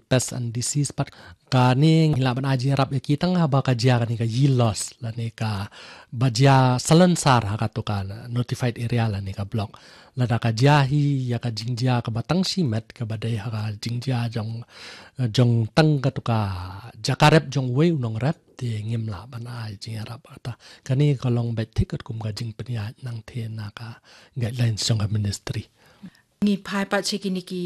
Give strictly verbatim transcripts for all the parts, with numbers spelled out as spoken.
pest and disease pat. Kane ngi lah ban ai jingïarap ïa ki tang haba ka jia kane ka yield loss lane kaba jia salonsar ha katu ka notified area lane ka block. Lada ka jia hi ïa ka jingjia kaba tang shimet kaba dei ha ka jingjia jong, jong tang katu ka jaka rep jong uwei u nongrep, te ngim lah ban ai jingïarap. Kata kane ka long beit thik katkum ka jingpynïaid nangtei na ka guidelines jong ka ministry. Ngi phai pat sha kine ki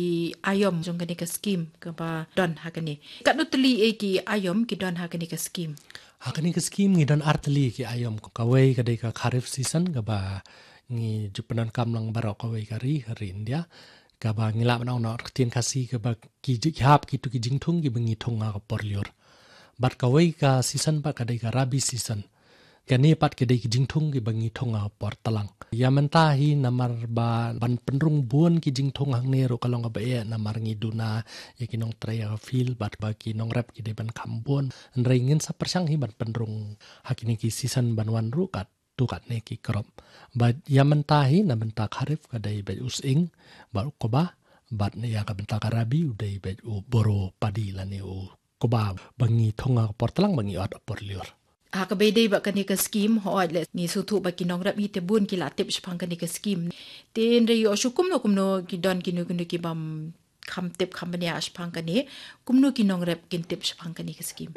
aïom jong kane ka scheme kaba don ha kane. Katno tylli eh ki aïom ki don ha kane ka scheme? Ha kane ka scheme ngi don ar tylli ki aïom. Kawei ka dei ka kharif season kaba ngi ju pyndonkam lang baroh kawei ka ri, ka ri India. Kaba ngi lah ban ong na ka ktien Khasi kaba ki ji-, ki hap kitu ki jingthung kiba ngi thung ha ka por lyiur. Bad kawei ka season pat ka dei ka rabi season. Kane pat ki dei ki jingthung kiba ngi thung ha por tlang. Ïa mynta hi namar ba ban pynrung bun ki jingthung hangne ruh ka long kaba eh namar ngi duna ïa ki nongtrei ha ka field bad ba ki nongrep ki dei ban kham bun. Hynrei ngin sa pyrshang hi ban pynrung ha kine ki season ban wan ruh katto katne ki crop. Bad ïa mynta hi na bynta kharif ka dei beit u sying bad u kba, bad ïa ka bynta ka rabi u dei beit u boro padi lane u kba ba ngi thung ha ka por tlang ba ngi ot ha por lyiur. Ha kaba ïadei bad kane ka scheme, hooid leh ngi sngewthuh ba ki nongrep hi te bun ki la tip shaphang kane ka scheme. Te hynrei ïoh shuh kumno kumno ki don kino kino kibym kham tip kham bniah shaphang kane, kumno ki nongrep kin tip shaphang kane ka scheme?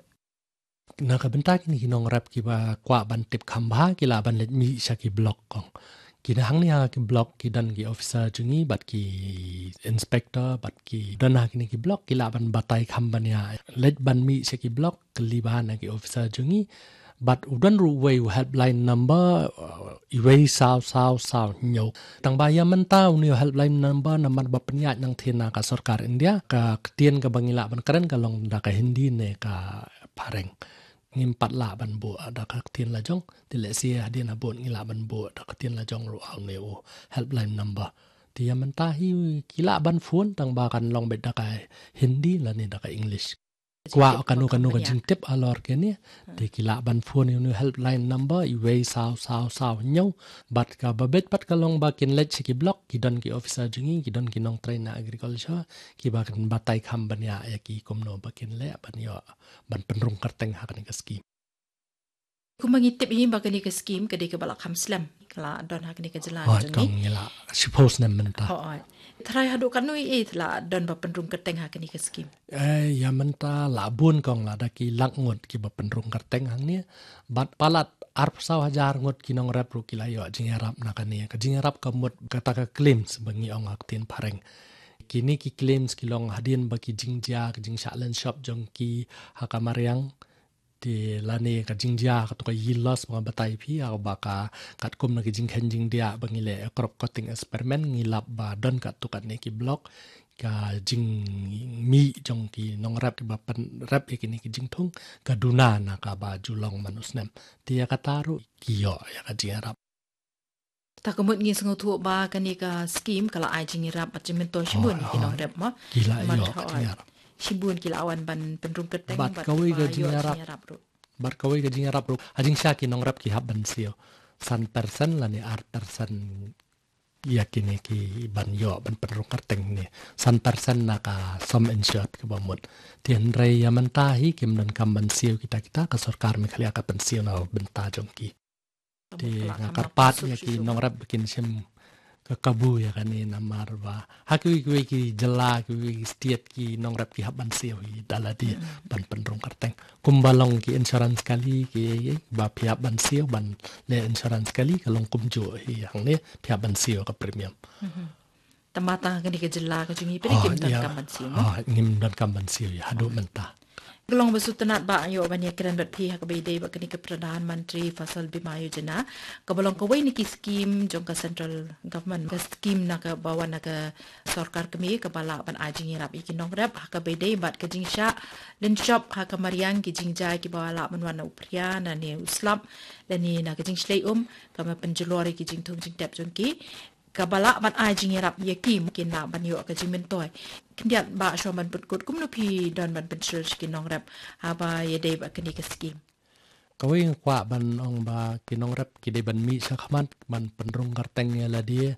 Na ka bynta kine ki nongrep kiba kwah ban tip kham bha ki lah ban leit mih sha ki block kong. Ki na hangne ha ki block ki don ki officer jong ngi bad ki inspector bad ki don ha kine ki block ki lah ban batai kham bniah. Leit ban mih sha ki block kylli bha na ki officer jong ngi. Bad u don ruh uwei u helpline number, uh, uwei saw saw saw hynñiew. Tang ba ïa mynta une u helpline number namar ba pynïaid nangtei na ka sorkar India, ka ktien kaba ngi lah ban kren ka long da ka Hindi ne ka Phareng. Ngim pat lah ban buh da ka ktien la jong, te lehse hadien habud ngi lah ban buh da ka ktien la jong ruh ha une u helpline number. Te ïa mynta hi ki lah ban phone tang ba kan long beit da ka Hindi lane da ka English. Kwah kano kano ka jingtip halor kane, te ki lah ban phone ïa une u helpline number uwei saw saw saw hynñiew. Bad kaba beit pat ka long ba kin leit sha ki block, ki don ki officer jong ngi, ki don ki nongtrei na agriculture kiba kan batai kham bniah ïa ki kumno ba kin leh ban ïoh ban pynrung kyrteng ha kane ka scheme. Kumba ngi tip hi ba kane ka scheme ka dei kaba la kham slem, ka la don ha kane ka jylla ka jong ngi. Hooid, ngi la shiphew snem mynta. Hooid. Tharai haduh katno eh te la don ba pynrung kyrteng ha kane ka scheme? Eh, ïa mynta la bun kong, la da ki lak ngut kiba pynrung kyrteng hangne. Bad palat arphew saw hajar ngut ki nongrep ruh ki la ïoh jingïarap na kane. Ka jingïarap ka mut kata ka claims ba ngi ong ha ka ktien Phareng. Kine ki claims ki long hadien ba ki jingjia, ka jingshah lynshop jong ki ha ka mariang. Te lane ka jingjia katu ka yield loss ba nga batai phi, ha kaba ka katkum na ka jingkheiñ jingdiah ba ngi leh crop cutting experiment, ngi lap ba don katto katne ki block ka jingmih jong ki nongrep kiba pynrep ïa kine ki jingthung ka duna na kaba ju long man u snem. Te ïa kata ruh ki ïoh ïa ka jingïarap. Ta ka mut ngi sngewthuh ba kane ka scheme ka la ai jingïarap bad jingmyntoi shibun ïa ki nongrep ma. Ki la ïoh ka jingïarap. Shibun ki la wan ban pynrung kyrteng bad kawei ka jingïarap ruh. Bad kawei ka jingïarap ruh, ha jingshisha ki nongrep ki hap ban siew san percent lane ar percent ïa kine ki ban ïoh ban pynrung kyrteng ne san percent na ka sum insured kaba mut. Te hynrei ïa mynta hi kim donkam ban siew kita kita, ka sorkar Meghalaya ka pynsiew na bynta jong ki. Te nga kyrpad ïa ki nongrep ba kin shim ka kabu ïa kane namar ba ha kiwei kiwei ki jylla, kiwei ki state ki nongrep ki hap ban siew hi da lade ban pynrung kyrteng. Kumba long ki insurance kali ki, ba phi hap ban siew ban leh insurance kali ka long kumjuh hi hangne, phi hap ban siew ka premium. Tang ba tang ha kane ka jylla ka jong ngi phi kim donkam ban siew mo? Ngim donkam ban siew ïa haduh mynta. Ka long ba sngewtynnat ba nga ïoh ban ïakren bad phi ha kaba ïadei bad kane ka Pradhan Mantri Fasal Bima Yojana, kaba long kawei na ki scheme jong ka central government, ka scheme na kaba wan na ka sorkar kmie kaba lah ban ai jingïarap ïa ki nongrep ha kaba ïadei bad ka jingshah lynshop ha ka mariang, ki jingjia kiba lah ban wan na u phria lane u slap lane na ka jingshlei um, kaba pynjulor ïa ki jingthung jingtep jong ki. Kaba lah ban ai jingïarap ïa ki, kin lah ban ïoh ka jingmyntoi. Khyndiat ba shuwa ban pynkut, kumno phi don ban pynshlur sha ki nongrep haba ïadei bad kane ka scheme? Kawei nga kwah ban ong ba ki nongrep ki dei ban mih shakhmat ban pynrung kyrteng ïa lade,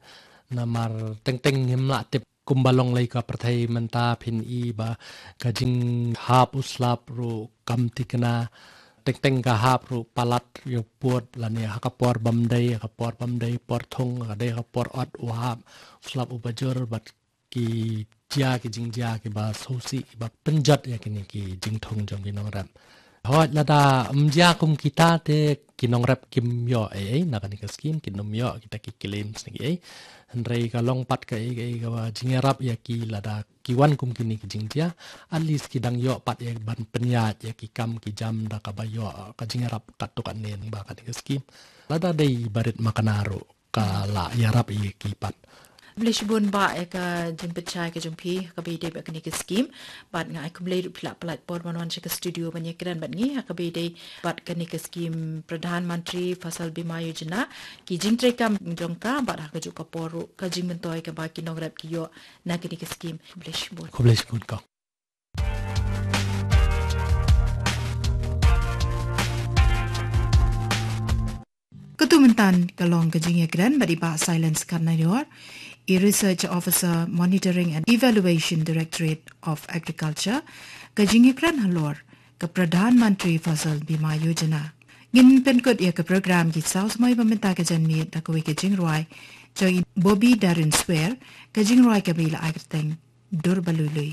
namar teng teng ngim lah tip Kumba long lei ka pyrthei mynta phin i ba ka jinghap u slap ruh kam tikna, teng teng ka hap ruh palat ïa pud lane ha ka por bym dei, ha ka por bym dei, por thung, ka dei ha ka por ot u hap u slap uba jur bad ki jia, ki jingjia kiba sngewsih kiba pynjot ïa kine ki jingthung jong ki nongrep. Hooid, lada ym jia kum kita te ki nongrep kim ïoh ei ei na kane ka skim, kin ym ïoh kita ki claims ne ki ei. Hynrei ka long pat kaei kaei kaba jingïarap ïa ki, lada ki wan kum kine ki jingjia, at least ki dang ïoh pat ïa ban pynïaid ïa ki kam ki jam da kaba ïoh ka jingïarap katto katne ba kane ka skim. Lada dei barit makna ruh ka la ïarap ïa ki pat. Khublei shibun Bah ïa ka jingpynshai ka jong phi ha kaba ïadei bad kane ka skim. Bad nga ai khublei ruh phi la pynlait por ban wan sha ka studio ban ïakren bad ngi ha kaba ïadei bad kane ka skim Pradhan Mantri Fasal Bima Yojana, ki jingtreikam jong ka bad ha kajuh ka por ruh ka jingmyntoi kaba ki nongrep ki ïoh na kane ka skim. Khublei shibun. Khublei shibun kong. Katu mynta ka long ka jingïakren bad i Bah Silence Kharnaior, i Research Officer, Monitoring and Evaluation, Directorate of Agriculture, ka jingïakren halor ka Pradhan Mantri Fasal Bima Yojana. Ngin pynkut ïa ka program ki saw samoi ba mynta ka janmiet da kawei ka jingrwai jong i Bobby Darren Swer, ka jingrwai kaba la ai kyrteng Dur Ba Lui Lui.